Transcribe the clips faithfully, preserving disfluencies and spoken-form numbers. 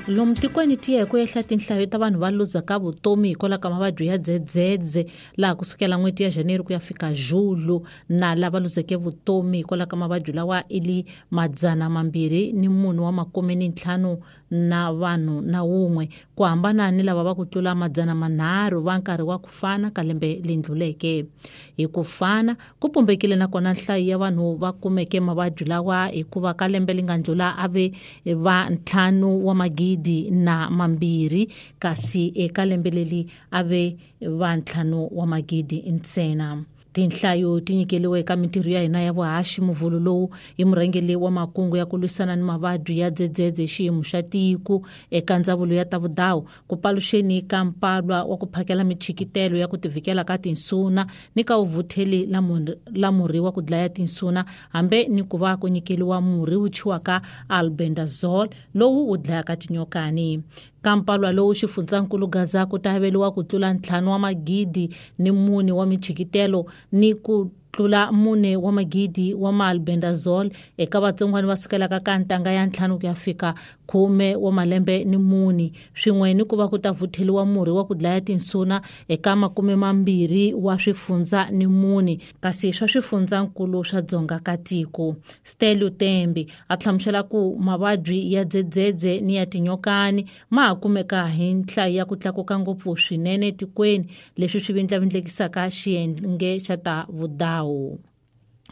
Lomu tikweni tiye ku ehla tinhlayo ta vanhu va luzaka vutomi hikwalaho ka mavabyi ya dzedzedze laha kusukela n'hweti ya January ku ya fika Julu na lava luzeke vutomi hikwalaho ka mavabyi lawa i li madzana mambirhi ni munhu wa makume ni ntlhanu na vanhu na wun'we ku hambana ni lava va ku tlula madzana manharhu va nkarhi wa ku fana ka lembe leri ndluleke. Hi ku fana ku pumbekile nakona nhlayo ya vanhu va kumeke mavabyi lawa hikuva ka lembe leri nga ndlula a ve va ntlhanu wa magidi na mambirhi kasi eka lembe leri a ve va ntlhanu wa magidi ntsena. Tinhlayo ti nyikeliwe eka mintirho ya hina ya vuhaxi muvhulu lowu hi murhangeri wa makungu ya ku lwisana ni mavabyi ya dzedzedze xiyimo xa tiko eka ndzawulo ya ta vudawu ku paluxeni ka mpalwa wa ku phakela michikitelo ya ku tivikela ka tinsuna ni ka vuvutheli la murhi wa ku dlaya tinsuna hambe ni ku va ku nyikeliwa murhi wu thyiwaka albendazole lowu wu dlayaka tinyokani. Ka mpalwa lowu xifundzankulu Gaza ku ta averiwa ku tlula ntlhanu wa magidi ni mune wa michikitelo ni ku tlula mune wa magidi wa maalbendazole eka vatsongwana va sukelaka ka ntanga ya ntlhanu ku ya fika khume wa malembe ni mune swin'we ni ku va ku ta vutheliwa murhi wa ku dlaya tinsuna eka makume mambirhi wa swifundza ni mune kasi swa swifundzankulu swa dzonga ka tiko. Stelio Tembe a hlamusela ku mavabyi ya dzedzedze ni ya tinyokani ma ha kumeka hi nhlayo ya ku tlakuka ngopfu swinene etikweni leswi swi vindlavindlekisaka xiyenge xa ta vudawu.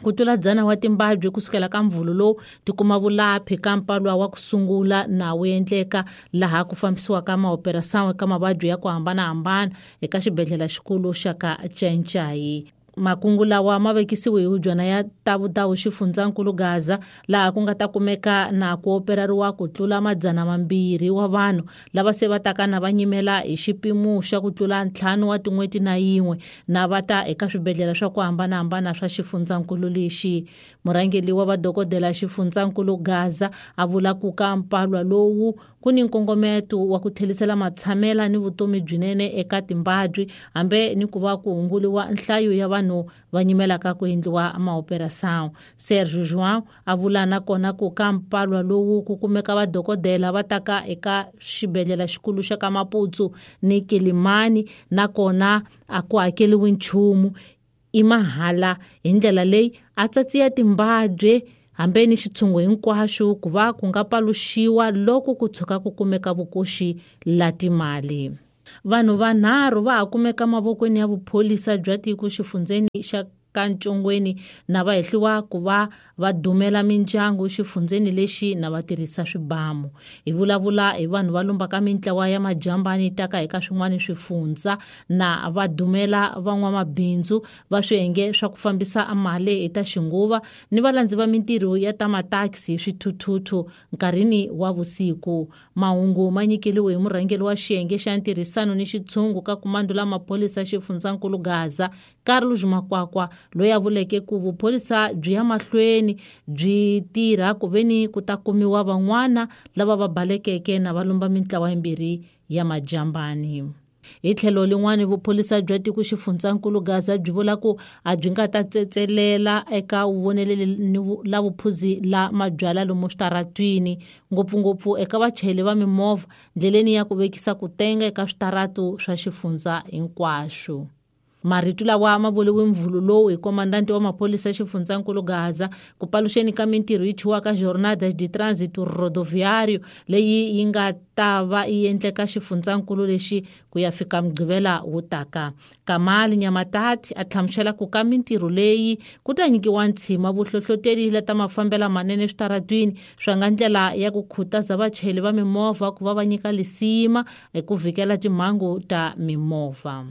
Ku tlula dzana wa timbabyi kusukela ka mvhulu lowu ti kuma vulaphi ka mpalwa wa ku sungula na wu endleka laha ku fambisiwaka maoperasawu eka mavabyi ya ku hambanahambana eka xibedhlele xikulu xa ka Txentxayi. Makungu lawa ma vekisiwe hi hubyana ya ta vudawu xifundzankulu Gaza laha ku nga ta kumeka na ku operariwa ku tlula madzana mambirhi wa vanhu lava se va taka na va nyimela hi xipimo xa ku tlula ntlhanu wa tin'hweti na yin'we na va ta eka swibedhlele swa ku hambanahambana swa xifundzankulu lexi. Murhangeri wa vadokodela xifundzankulu Gaza a vula ku ka mpalwa lowu ku ni nkongometo wa ku tlherisela matshamela ni vutomi byinene eka timbabyi hambe ni ku va ku hunguliwa nhlayo ya vanhu va nyimelaka ku endliwa maoperasawu. Sergio João a vula nakona ku ka mpalwa lowu ku kumeka vadokodela va taka eka xibedhlele xikulu xa ka Maputsu ni Kilimani nakona a ku hakeriwi nchumu i mahala hi ndlela leyi a tsatsiya timbabyi hambe ni xitshungu hinkwaxo ku va ku nga paluxiwa loko ku tshuka ku kumeka vukoxi la timali. Vanhu vanharhu va ha kumeka mavokweni ya vupholisa bya tiko xifundzeni xa ka Ntshongweni na va hehliwa ku va va dumela mindyangu xifundzeni lexi na va tirhisa swibamu. Hi vulavula hi vanhu va lumbaka mintlawa ya majambani taka eka swin'wana swifundza na va dumela van'wamabindzu va swiyenge swa ku fambisa mali hi ta xinguva ni valandzi va mintirho ya ta mataxi swithuthuthu nkarhini wa vusiku. Mahungu ma nyikeliwe hi murhangeri wa xiyenge xa ntirhisano ni xitshungu ka kumando la maphorisa xifundzankulu Gaza Carlos Makwakwa loyi a vuleke ku vupholisa byi ya mahlweni byi tirha ku veni ku ta kumiwa van'wana lava va balekeke na va lumba mintlawa yimbirhi ya majambani. Hi tlhelo lin'wana vupholisa bya tiko xifundzankulu Gaza byi vula ku a byi nga ta tsetselela eka vuvoneleli ni la vuphuzi la mabyala lomu switaratwini ngopfungopfu eka vachayeri va mimovha ndleleni ya ku vekisa ku tenga eka switaratu swa xifundza hinkwaswo. Marito lawa ma vuriwe mvhulu lowu hi komandanti wa mapholisa xifundzankulu Gaza ku paluxeni ka mintirho yi thyiwaka Jornadas de Trânsito Rodoviário leyi yi nga ta va yi endleka xifundzankulu lexi ku ya fika Mugqivela wu taka. Kamali Nyamatati a hlamusela ku ka mintirho leyi ku ta nyikiwa ntshima vuhlohloteri leta mafambela manene switaratwini swa nga ndlela ya ku khutaza vachayeri va mimovha ku va va nyika lisima eku vhikela timhangu ta mimovha.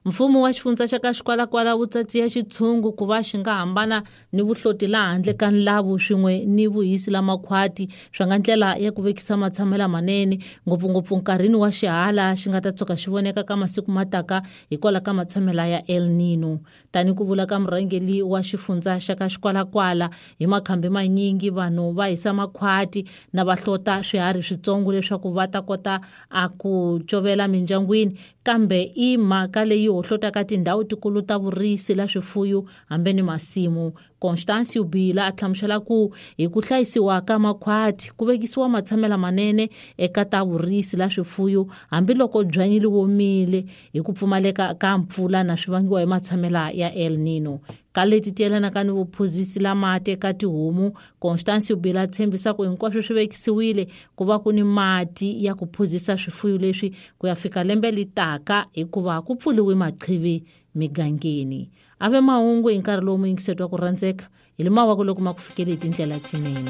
Mfumo wa xifundza xa ka Xikwalakwala wu tsatsiya xitshungu ku va xi nga hambana ni vuhloti laha handle ka nlavu swin'we ni vuhisi la makhwati swa nga ndlela ya ku vekisa matshamela manene ngopfungopfu nkarhini wa xihala xi nga ta tshuka xi voneka ka masiku mataka hikwalaho ka matshamela ya El Nino. Tani ku vula ka murhangeri wa xifundza xa ka Xikwalakwala hi makhambi manyingi vanhu va hisa makhwati na va hlota swiharhi switsongo leswaku va ta kota a ku covela mindyangwini Kambe i mhaka leyi hohlotaka tindhawu tikulu ta vurisi la swifuyo hambi ni masimu. Constancio Bila a hlamusela ku hi ku hlayisiwa ka makhwati ku vekisiwa matshamela manene eka ta vurisi la swifuyo hambiloko byanyi li womile hi ku pfumaleka ka mpfula na swi vangiwa hi matshamela ya El Nino. Ka leti ti yelanaka ni vuphuzisi la mati eka tihomu, Constancio Bila tshembisa ku hinkwaswo swi vekisiwile ku va ku ni mati ya ku phuzisa swifuyo leswi ku ya fika lembe li taka hikuva ku pfuliwe maqhivi migangeni. Ave mahungu hi nkarhi lowu muyingiseti wa ku rhandzeka hi le mawako loko ma ku fikele hi tindlela tinene.